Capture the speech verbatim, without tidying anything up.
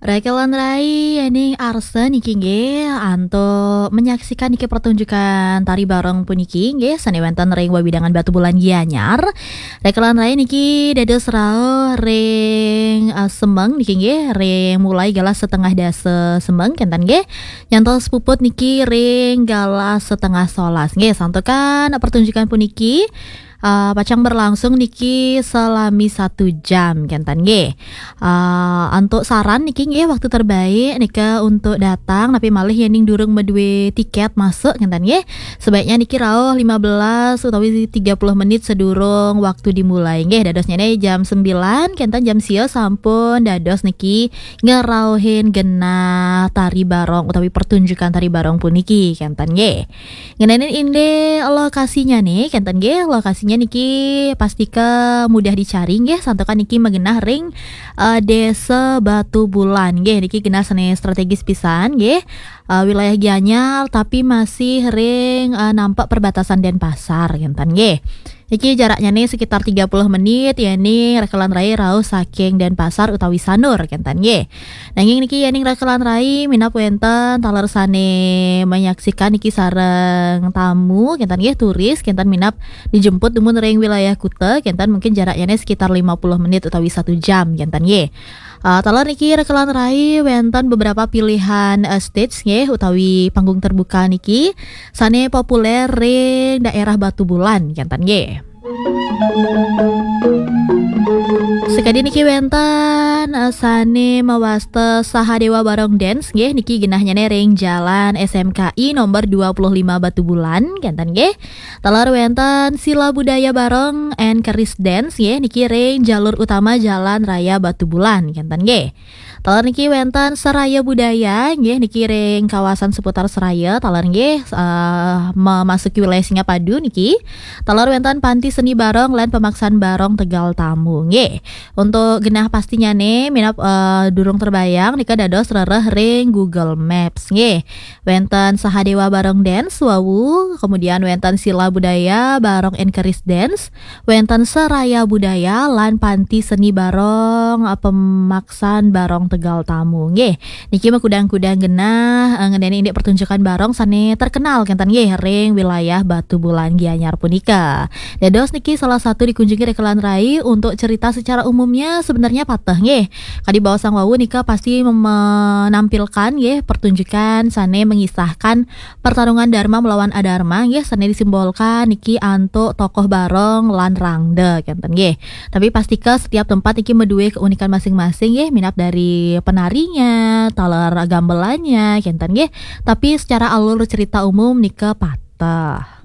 Rekelan rai, ening arsa niki nggih antuk menyaksikan niki pertunjukan tari barong puniki nggih sane wenten ring wewidangan Batubulan Gianyar. Rekelan rai niki dados rauh ring, eh, semeng niki nggih ring mulai galah setengah dasa semeng kenten nggih. Nyantos puput niki ring galah setengah solas nggih. Santukan pertunjukan puniki uh, pacang berlangsung niki selami satu jam kenten nggih. Uh, antuk saran niki nggih waktu terbaik nika untuk datang tapi malih yening durung medue tiket masuk kenten nggih. Sebaiknya niki rauh lima belas utawi tiga puluh menit sedurung waktu dimulai nggih. Dadosnya jam sembilan kenten jam sia sampun dados niki ngerauhin genah tari barong utawi pertunjukan tari barong puniki kenten nggih. Ngenenin indik lokasinya nih, kenten nggih, lokasinya niki pastika mudah dicari nggih, santukan niki magenah ring, eh, Desa Batubulan nggih, niki genah sane strategis pisan nggih. Eh, wilayah Gianyar tapi masih ring, eh, nampak perbatasan Denpasar kenten nggih. Niki jaraknya nih sekitar tiga puluh menit ya nih rekelan rai rauh saking Denpasar utawi Sanur kenten nggih. Nanging niki yening rekelan rai minab wenten taler sane menyaksikan niki sareng tamu kenten nggih turis kenten minab dijemput dumun ring wilayah kuta kenten mungkin jaraknya sekitar lima puluh menit utawi satu jam kenten nggih. Uh, taler niki rekelan rai wenten beberapa pilihan, uh, stage nggih utawi panggung terbuka niki sane populer ring daerah Batubulan kenten nggih. Sekadi niki wenten, eh, sane mawasta Sahadewa Barong Dance nggih niki genahnya ring Jalan S M K I nomor dua puluh lima Batubulan kenten nggih. Taler wenten Sila Budaya Barong and Keris Dance nggih niki ring jalur utama Jalan Raya Batubulan kenten nggih. Taler niki wenten Seraya Budaya nggih niki ring kawasan seputar Seraya taler nggih, eh, memasuki wilayah Singapadu niki. Taler wenten Panti Seni Barong lan Pemaksan Barong Tegal Tamu nggih. Untuk genah pastinya nih minab, eh, durung terbayang nika dados rereh ring Google Maps nggih. Wenten Sahadewa Barong Dance wau, kemudian wenten Sila Budaya Barong Enkeris Dance, wenten Seraya Budaya lan Panti Seni Barong, eh, Pemaksan Barong Tegal Tamu nggih. Niki makudang-kudang genah, eh, ngenenin indik pertunjukan barong sane terkenal kenten nggih ring wilayah Batubulan Gianyar punika. Dados niki salah satu dikunjungi rekelan rai untuk cerita secara umumnya sebenarnya pateh nggih. Kadi baosang wau nika pasti mem-, menampilkan nggih pertunjukan sane mengisahkan pertarungan Dharma melawan Adharma nggih sane disimbolkan niki antuk tokoh barong lan rangda kenten nggih. Tapi pastika setiap tempat niki medue keunikan masing-masing nggih minab dari penarinya, taler gambelannya kenten nggih. Tapi secara alur cerita umum nika pateh.